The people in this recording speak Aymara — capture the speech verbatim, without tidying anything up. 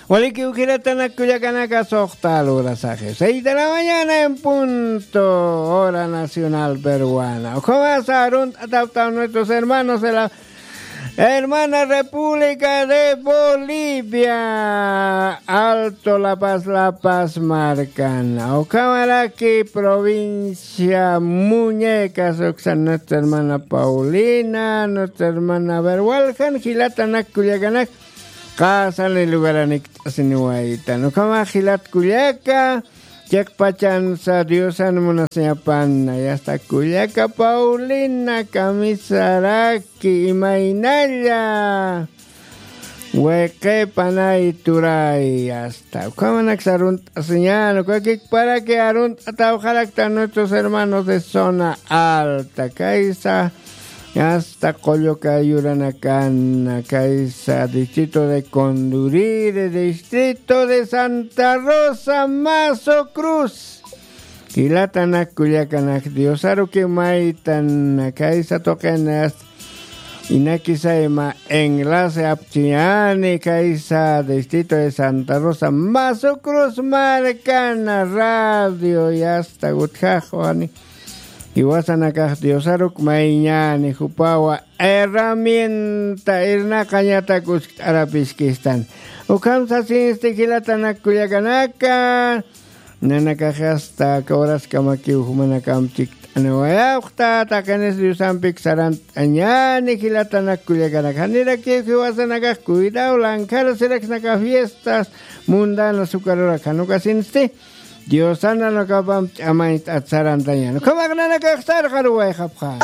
Walikiw jilatanak kullakanaka, suxta lurasaxi seis de la mañana en punto, hora nacional peruana. Ukhamasa arunt'atawtaw nuestros hermanos de la hermana República de Bolivia, Alto La Paz, La Paz markan. Ukhamaraki provincia Muñecas, uksan nuestra hermana Paulina, nuestra hermana, a ver, waljan jilatanak kullakanak, qasani lugaranik t'asiniwaytan. Ukhama jilat kullaka, chiqpachansa Diosan munasiñapan, yasta kullaka Paulina Kamisaraki, imaynalla. Wayqipanay turay, asta. Ukhamanak sarunt'asiñan, ukakikparaki arunt'atawxaraktan nuestros hermanos de zona alta, kaysa, asta Qulluka yuranakan, kaysa distrito de Condurire, distrito de Santa Rosa, Mazo Cruz. Jilatanak kullakanak, Diosaruki maytan kaysa tuqin, asta inakisayma enlace apchiñani, kaysa distrito de Santa Rosa, Mazo Cruz markana radio, yasta gutjaxwani. Jiwasanakax Diosaruk mayñani, jupawa herramienta irnaqañatak uskt'arapiskistan. Ukham sasinsti jilatanak kullakanaka, nanakax asta aka horaskamakiw jumanakam chikt'aniwayawxta, taqinis Diosampik sarant'añani jilatanak kullakanak. Janirakiw jiwasanakax cuidado, lankhara siraksnaka fiestas mundanas ukarurak, jan ukasinsti Diosan nanakapam ch'amañt'at sarantañan. Ukhamak nanakax sarqaruwayxapxa.